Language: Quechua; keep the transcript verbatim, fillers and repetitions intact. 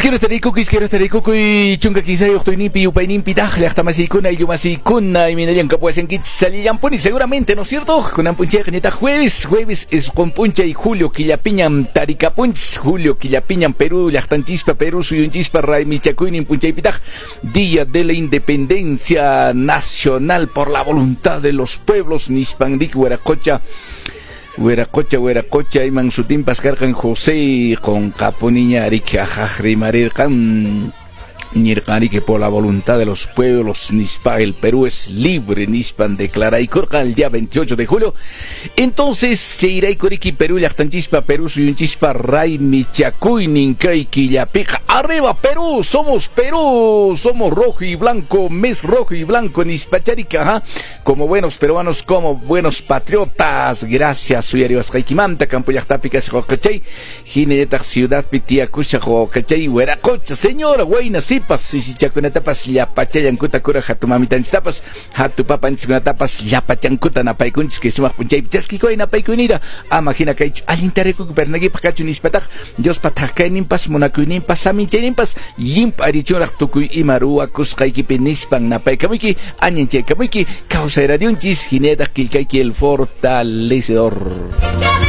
Iskero tarikukuy, iskero tarikukuy, chunka kinsayuq tuyninpi yupayninpi taq llaqtamasiykuna ayllumasikuna imaynallan kapuwasankichis salillanpuni seguramente, ¿no es cierto? Kunan p'unchayqa ñataq jueves, jueves isqun p'unchay julio killapiñam tarikapunchis, julio killapiñam Perú llaqtanchispa, Perú suyunchispa raymichakuynin p'unchaypitaq, Día de la Independencia Nacional por la voluntad de los pueblos, nispanrik wiraqocha. Wiraqocha, wiraqocha, iman sutinpas karqan José qunqapuniña riki ajaj rimarirqan nirqan por la voluntad de los pueblos nispa el Perú es libre nispan declaraykurqan el día veintiocho de julio. Entonces chayraykuriki Perú llaqtanchispa, Perú suyunchispa raymichakuynin kay killapiqa. Arriba Perú, somos Perú, somos rojo y blanco, mes rojo y blanco nispacharika, ajá. Como buenos peruanos, como buenos patriotas. Gracias uyariwasqaykimanta campo llaqtapi kasaq wawqichay, hinallataq ciudadpi tiyakushaq wawqichay wiraqocha, señora wayna sipas sisichakunatapas llapachallankuta kuraq hatumamitanchistapas hatupapanchiskunatapas llapachankuta napaykunchis kay sumaq p'unchaypi chaskikuy napaykuynita ama hina kaychu allinta rikukuy pernakipaq kachu nispataq Diospa thaqkayninpas munakuyninpas saminchayninpas llimp'arichunraq tukuy ima ruwakusqaykipi nispan napaykamuyki añanchaykamuyki kawsay radionchis hinallataq killkayki El Fortalecedor.